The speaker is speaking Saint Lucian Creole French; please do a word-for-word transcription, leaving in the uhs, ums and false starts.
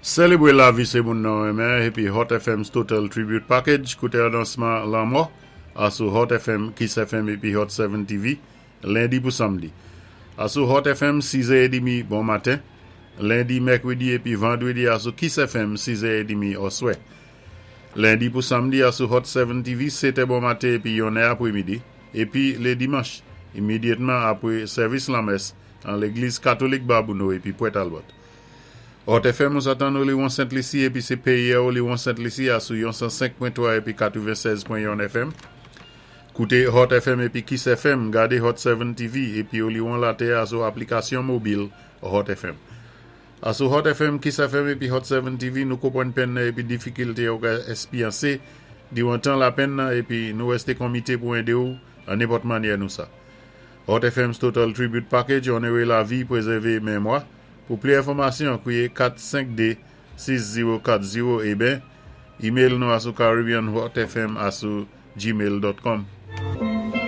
Sélébwé lavi sé moun nou renmen épi Hot F M's Total Tribute Package kouté anonsman lanmò asou Hot F M, Kiss F M épi Hot sept T V lendi pou samdi. Asou Hot F M sis è trant bon maten, lendi, mèkwédi épi vandwédi, asou Kiss F M sis è trant oswè. Lendi pou samdi asou Hot sept T V sèt è bon maten épi yon è apwémidi, épi lé dimanch imédyatman apwé sèvis lanmès an légliz katolik Babonneau épi Port Albert. Hot F M ou satan Oliwon Saint-Lucie épi sé péyi Oliwon Saint-Lucie asou cent cinq point trois épi quatre-vingt-seize point un F M. Kouté Hot F M épi Kiss F M, gadé Hot sept T V épi Oliwon Latè asou aplikasyon mobil Hot F M. Asou Hot F M, Kiss F M épi Hot sept T V, nou konpwann penn épi difikilte ou ka espwyansé diwan tan lapenn nan épi nou wèsté komité pou édé ou an nenpòt mannyè nou sa. Hot F M's Total Tribute Package, onoré lavi, pwézèvé mémwa. Pou pli enfòmasyon, kwiyé kat senk de sis zewo kat zewo ébyen email nou asou caribbeanhotfm asou gmail dot com.